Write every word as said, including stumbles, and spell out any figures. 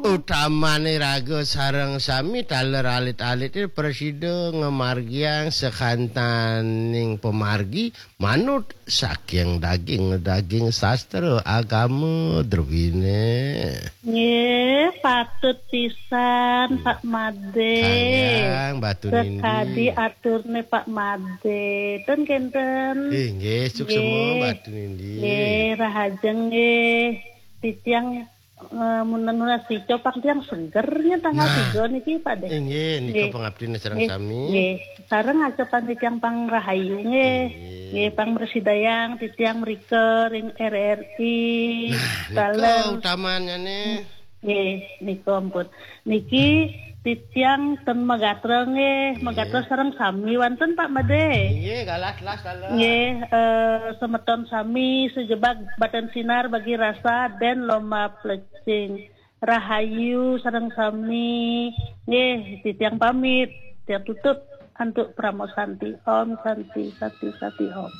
Utamane raga sareng sami taler alit-alit prasida ngamargiang sakantaning pamargi manut saking daging-daging sastra agama druwine. Nggih, patut pisan Pak Made. Kaliang Batu Nindi. Sekadi aturne Pak Made. Ten kenten. Eh, nggih, suksema Nggih. Batu Nindi. Nggih, rahajeng nggih. Titiang eh, munten-munten sico pang tiang seger nya tanggal Nah. tiga niki Pak deh. Eh, nggih, nika Nggih. pangabdine sareng Nggih, sami. Nggih. Sareng aja pang titiang pang rahayu nggih. Nggih. Nggih, pang mresidayang titiang mrika ring R R I. Nah, nika Dalem. Utamanyane. Nggih, nika ampun. Niki titiang ten magatra nggih, magatra sareng sami wonten Pak Made. Nggih, galah-galah dalem. Nggih, eh, semeton sami sejebag Badan Sinar Bagi Rasa dan Lomba Plecing. Rahayu sareng sami. Nggih, titiang pamit, tiang tutup antuk Parama Santi. Om Santi, Santi, Santi Om.